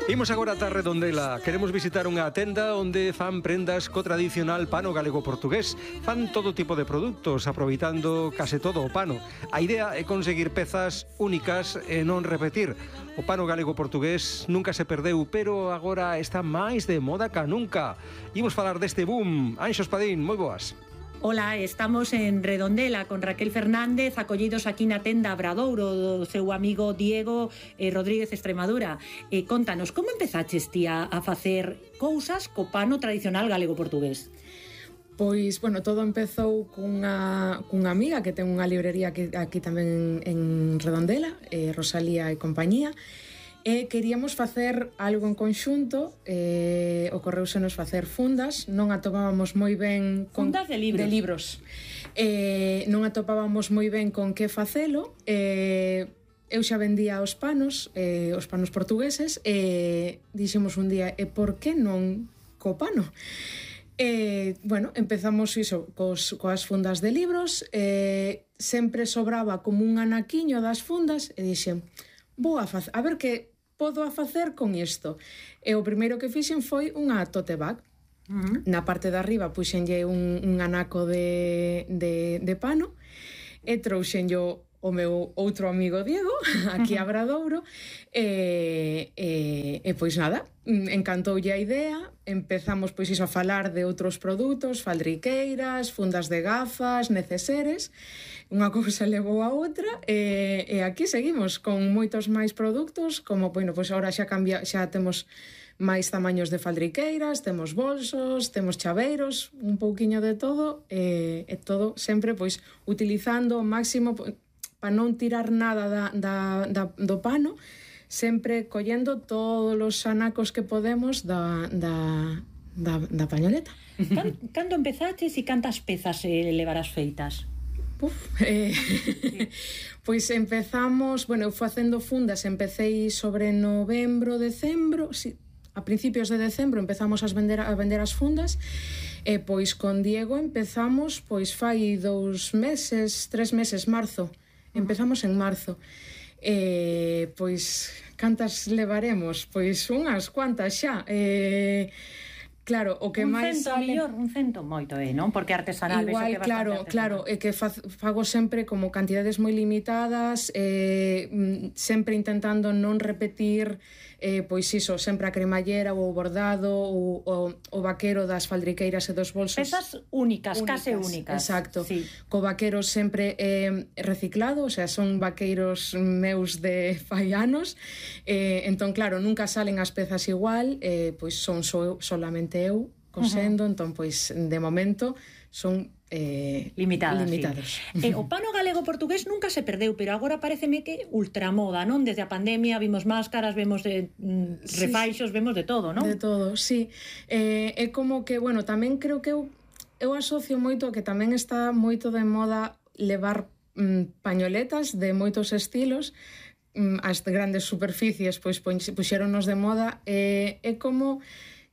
Imos agora ata Redondela. Queremos visitar unha tenda onde fan prendas co tradicional pano galego-portugués. Fan todo tipo de produtos, aproveitando case todo o pano. A idea é conseguir pezas únicas e non repetir. O pano galego-portugués nunca se perdeu, pero agora está máis de moda ca nunca. Imos falar deste boom. Anxo Espadín, moi boas. Ola, estamos en Redondela con Raquel Fernández, acollidos aquí na tenda Abradouro do seu amigo Diego Rodríguez Extremadura. Contanos, como empezaches ti a facer cousas co pano tradicional galego-portugués? Pois, bueno, todo empezou cunha amiga que ten unha librería aquí tamén en Redondela, Rosalía e compañía, e queríamos facer algo en conxunto. Ocorreusenos facer fundas, non atopábamos moi ben fundas de libros. Non atopábamos moi ben con que facelo. Eu xa vendía os panos portugueses, e dixemos un día, por que non co pano? Bueno, empezamos iso coas fundas de libros. Sempre sobraba como un anaquiño das fundas e dixen, a ver que podo a facer con isto. E o primeiro que fixen foi unha tote bag. Na parte de arriba puxenlle un anaco de pano e trouxenlle o meu outro amigo Diego aquí a Abradouro, e pois nada, encantoulle a idea. Empezamos pois iso a falar de outros produtos, faldriqueiras, fundas de gafas, neceseres. Unha cousa levou a outra, e aquí seguimos con moitos máis produtos, como, bueno, pois agora xa temos máis tamaños de faldriqueiras, temos bolsos, temos chaveiros, un pouquiño de todo, e todo sempre pois utilizando ao máximo para non tirar nada do pano, sempre collendo todos os anacos que podemos da pañoleta. Cando empezaches e cantas pezas levarás feitas? Pois empezamos, bueno, eu facendo fundas, empecei sobre novembro, decembro, a principios de decembro empezamos a vender as fundas, e pois con Diego empezamos pois fai 2 meses, 3 meses, marzo. Empezamos en marzo. Pois cantas levaremos? Pois unhas cuantas xa. Claro, o que máis sale... Un cento moito, non? Porque artesanal... Igual, claro, é que fago sempre como cantidades moi limitadas, sempre intentando non repetir, pois iso, sempre a cremallera ou o bordado ou o vaquero das faldriqueiras e dos bolsos. Pezas únicas, case únicas. Exacto. Sí. Co vaquero sempre reciclado, o sea, son vaqueiros meus de fai anos, entón, claro, nunca salen as pezas igual, pois son solamente eu cosendo, entón, pois, de momento son limitados. Sí. O pano galego-portugués nunca se perdeu, pero agora pareceme que ultramoda, non? Desde a pandemia vimos máscaras, vemos refaixos, vemos de todo, non? De todo, sí. É como que, bueno, tamén creo que eu asocio moito a que tamén está moito de moda levar pañoletas de moitos estilos. As grandes superficies pois puxéronos de moda, é como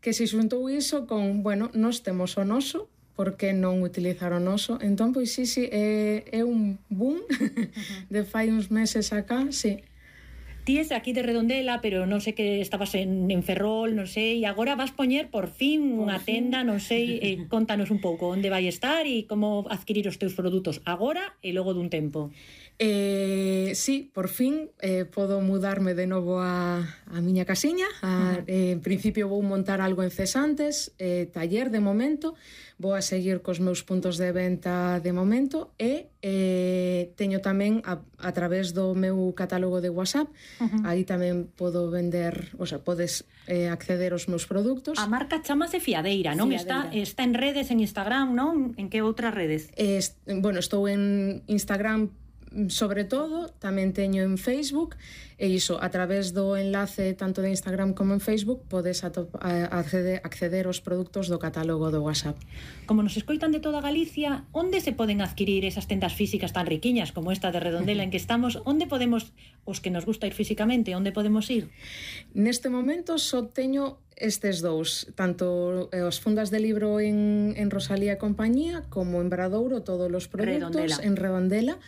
que se xuntou iso con, bueno, nós temos o noso, por que non utilizar o noso? Entón, pois sí, é un boom de fai uns meses acá, sí. Ti és aquí de Redondela, pero non sei que estabas en Ferrol, non sei, e agora vas poñer por fin unha tenda, non sei, contanos un pouco onde vai estar e como adquirir os teus produtos agora e logo dun tempo. Sí, por fin podo mudarme de novo a miña casiña. En principio vou montar algo en Cesantes, taller de momento, vou a seguir cos meus puntos de venta de momento, e teño tamén a través do meu catálogo de WhatsApp, aí tamén podo vender, o sea, podes acceder aos meus produtos. A marca chamase Fiadeira, non? Está en redes, en Instagram, non? En que outras redes? Bueno, estou en Instagram sobre todo, tamén teño en Facebook, e iso, a través do enlace tanto de Instagram como en Facebook podes acceder aos produtos do catálogo do WhatsApp. Como nos escoitan de toda Galicia, onde se poden adquirir esas tendas físicas tan riquiñas como esta de Redondela en que estamos? Onde podemos, os que nos gusta ir físicamente, onde podemos ir? Neste momento só teño estes dous, tanto as fundas de libro en Rosalía e compañía, como en Bradouro, todos os produtos en Redondela.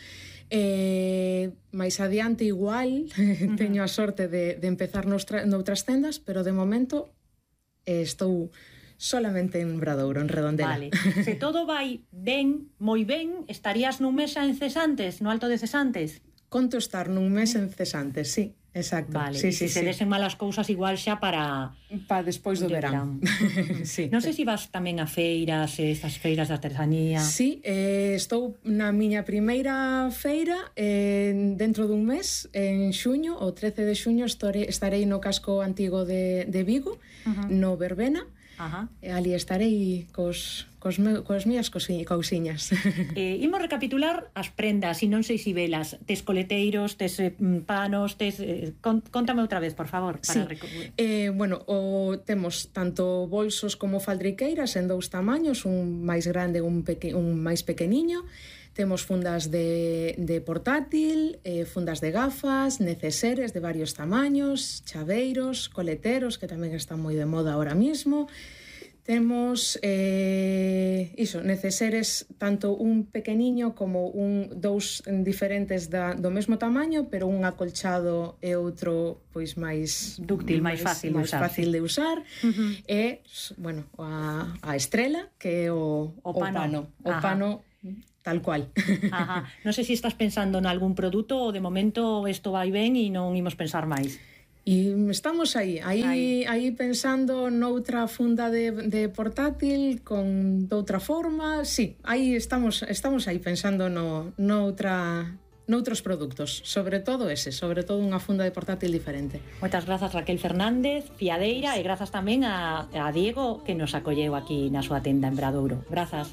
máis adiante igual teño a sorte de empezar noutras tendas, pero de momento estou solamente en Obradoiro, en Redondela. Vale. Se todo vai ben, moi ben, estarías nun mes en Cesantes, no Alto de Cesantes? Conto estar nun mes en Cesantes, sí, exacto. Vale, sí, e se desen malas cousas igual xa para despois do verán. Sí. Non sei se vas tamén a feiras, estas feiras de artesanía. Sí, estou na miña primeira feira dentro dun mes, en xuño, o 13 de xuño estarei no casco antigo de Vigo, no Verbena. Ali estarei cos mías cousiñas. Imos recapitular as prendas, e non sei se velas. Tes coleteiros, tes panos, contame outra vez, por favor. Sí. Temos tanto bolsos como faldriqueiras en dous tamaños, un máis grande e un máis pequeniño. Temos fundas de portátil, fundas de gafas, neceseres de varios tamaños, chaveiros, coleteros, que tamén están moi de moda ahora mismo. Temos neceseres tanto un pequeniño como dous diferentes do mesmo tamaño, pero un acolchado e outro pois máis dúctil, máis fácil de usar. E, a estrela, que é o pano. O pano tal cual. Non sei se estás pensando en algún produto ou de momento isto vai ben e non imos pensar máis. E estamos aí pensando noutra funda de portátil con doutra forma. Sí, aí estamos aí pensando noutros produtos, sobre todo unha funda de portátil diferente. Moitas grazas, Raquel Fernández, fiadeira, e grazas tamén a Diego, que nos acolleu aquí na súa tenda en Obradoiro. Grazas.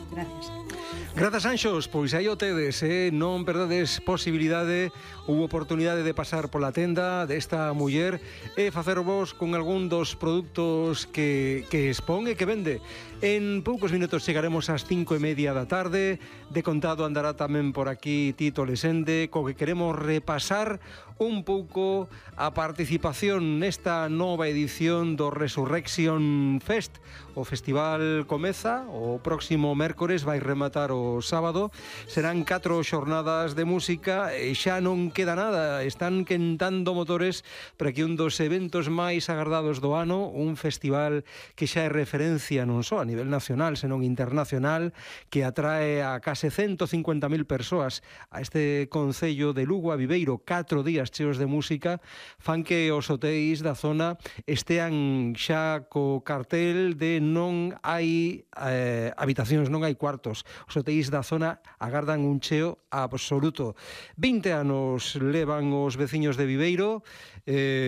Grazas, Anxos, pois aí o tedes, non perdades posibilidade ou oportunidade de pasar pola tenda desta muller e facervos con algún dos produtos que expón e que vende. En poucos minutos chegaremos ás 5:30 da tarde. De contado andará tamén por aquí Tito Lesende, co que queremos repasar un pouco a participación nesta nova edición do Resurrection Fest. O festival comeza o próximo mércores, vai rematar o sábado. Serán 4 xornadas de música e xa non queda nada. Están quentando motores para que un dos eventos máis agardados do ano, un festival que xa é referencia non só a nivel nacional, senón internacional, que atrae a case 150.000 persoas a este concello de Lugo, a Viveiro. 4 días cheos de música fan que os hotéis da zona estean xa co cartel de non hai habitacións, non hai cuartos. Os hotéis da zona agardan un cheo absoluto. 20 anos levan os veciños de Viveiro,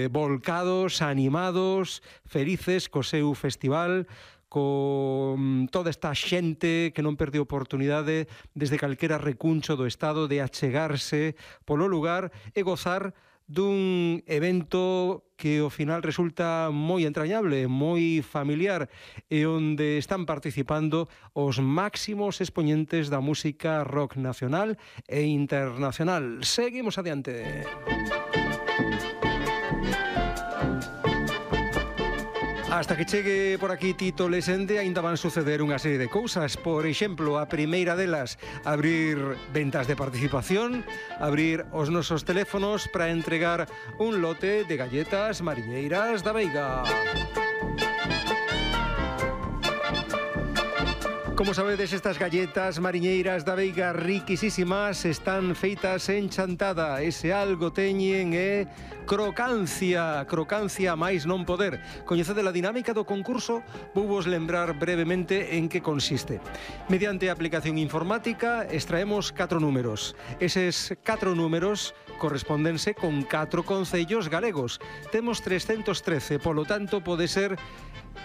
volcados, animados, felices co seu festival, con toda esta xente que non perde oportunidade desde calquera recuncho do Estado de achegarse polo lugar e gozar dun evento que ao final resulta moi entrañable, moi familiar, e onde están participando os máximos expoñentes da música rock nacional e internacional. Seguimos adiante. Hasta que chegue por aquí Tito Lesende, aínda van suceder unha serie de cousas. Por exemplo, a primeira delas, abrir ventas de participación, abrir os nosos teléfonos para entregar un lote de galletas mariñeiras da Veiga. Como sabedes, estas galletas mariñeiras da Veiga riquisísimas están feitas en chantada. Ese algo teñen é crocancia máis non poder. Coñecede a dinámica do concurso, vou vos lembrar brevemente en que consiste. Mediante a aplicación informática extraemos 4 números. Eses 4 números correspondense con 4 concellos galegos. Temos 313, polo tanto pode ser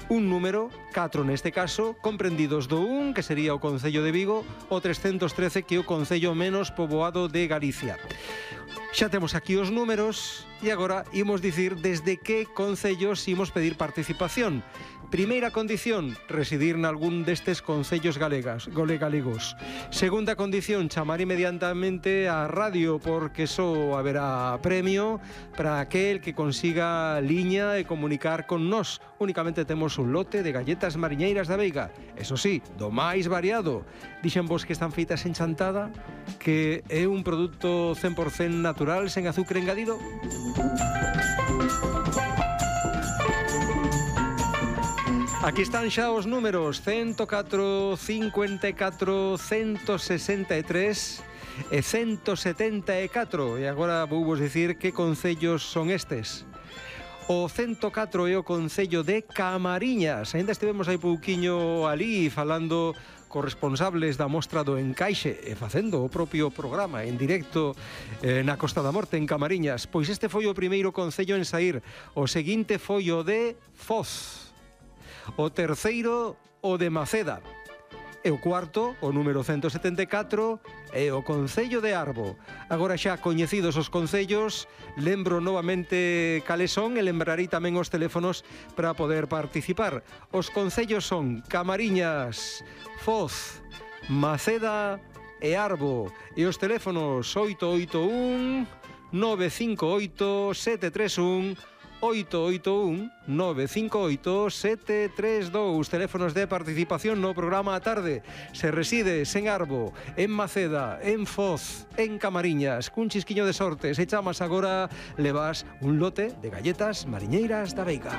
un número, 4 neste caso, comprendidos do 1, que sería o Concello de Vigo, o 313, que é o Concello menos poboado de Galicia. Xa temos aquí os números e agora imos dicir desde que concellos imos pedir participación. Primeira condición, residir nalgún destes concellos galegos. Segunda condición, chamar inmediatamente a radio, porque só haberá premio para aquel que consiga liña e comunicar con nós. Únicamente temos temos un lote de galletas mariñeiras da Veiga. Eso sí, do máis variado. Dixen vos que están feitas en chantada, que é un produto 100% natural, sen azúcar engadido. Aquí están xa os números 104, 54, 163 e 174. E agora vou vos dicir que concellos son estes. O 104 é o concello de Camariñas. Ainda estivemos hai pouquiño ali falando cos responsables da mostra do Encaixe e facendo o propio programa en directo na Costa da Morte en Camariñas. Pois este foi o primeiro concello en saír. O seguinte foi o de Foz. O terceiro, o de Maceda. E o cuarto, o número 174, é o concello de Arbo. Agora xa coñecidos os concellos, lembro novamente cales son e lembrarei tamén os teléfonos para poder participar. Os concellos son Camariñas, Foz, Maceda e Arbo. E os teléfonos 881 958 731 881-958-732. Teléfonos de participación no programa a tarde. Se resides en Arbo, en Maceda, en Foz, en Camariñas, cun chisquiño de sorte, se chamas agora, levas un lote de galletas mariñeiras da Veiga.